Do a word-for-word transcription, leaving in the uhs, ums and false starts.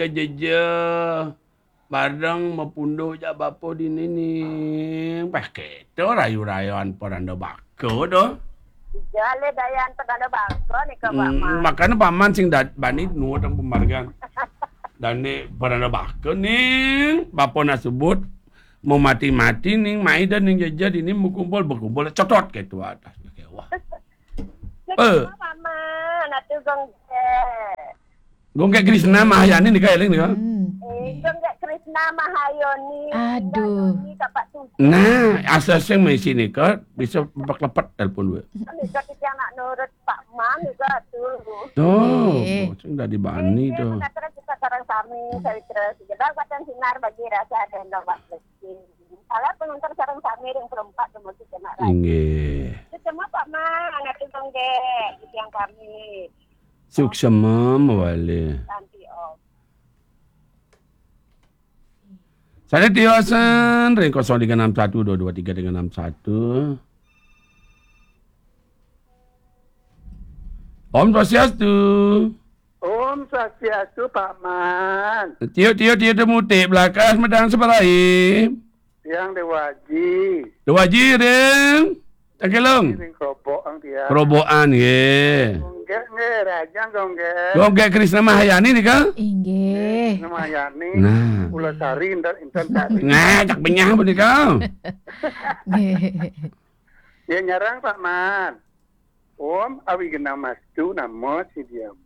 Jejeje. Bareng mapunduk jak bapa dini ning. Pah, kéto rayu-rayuan Paranda Baka to. Ija le dayan Paranda Baka nika, Pak Hmm, Man. Makana Paman sing dad-, bani nuut pamargian. Dane Paranda Baka ning, bapa nak sebut, mau mati-mati ning, mai dah ning jeje dini mau kumpul, bakumpul, cotot kéto atas. Wah. Eh. Paman, atuh Gonggek. Gonggek Krisna Mahayani nika, éling nika. Hmm. Eh, Gonggek Krisna Mahayoni. Aduh. Mahayoni, Bapak Tujuh. Nah, asa sing maisi nika, bisa lepet-lepet telepon wae. Nika titiang nak nurut Pak Man nika tuh. Tuh, Eh. Sing dadi bani Ini tuh. Pengacara kita sareng sami, sawitra sejedak wénten sinar bagi rasa dan Bapak Lesti. Salam pengantar sareng sami ring perempat, dumugi kena raja. Inggih. Suksma Pak Man, atuh Gonggek, titiang kami. Suksma mawali. Santi Om. Sané tiosan ring kosong tiga enam satu dua dua tiga tiga enam satu. Om Swastiastu. Om Swastiastu, Pak Man. Tio, tio, tio, tio, mutik belakas medang seberai. Tiang Dewa Aji. Dewa Aji, ring. Tangkilung. Ring Kerobokan tiang. Kerobokan, nggih. Gonggek, nggih, Rajang Gonggek. Gonggek Krisna Mahayani nika? Inggih. Krisna Mahayani. Nah. Pulau Sari, inten, inten Sari. Nah, cak benyah punika. Nggih. Ya, nyarang, Pak Man. Om Awighnamastu Namo Siddhiyam.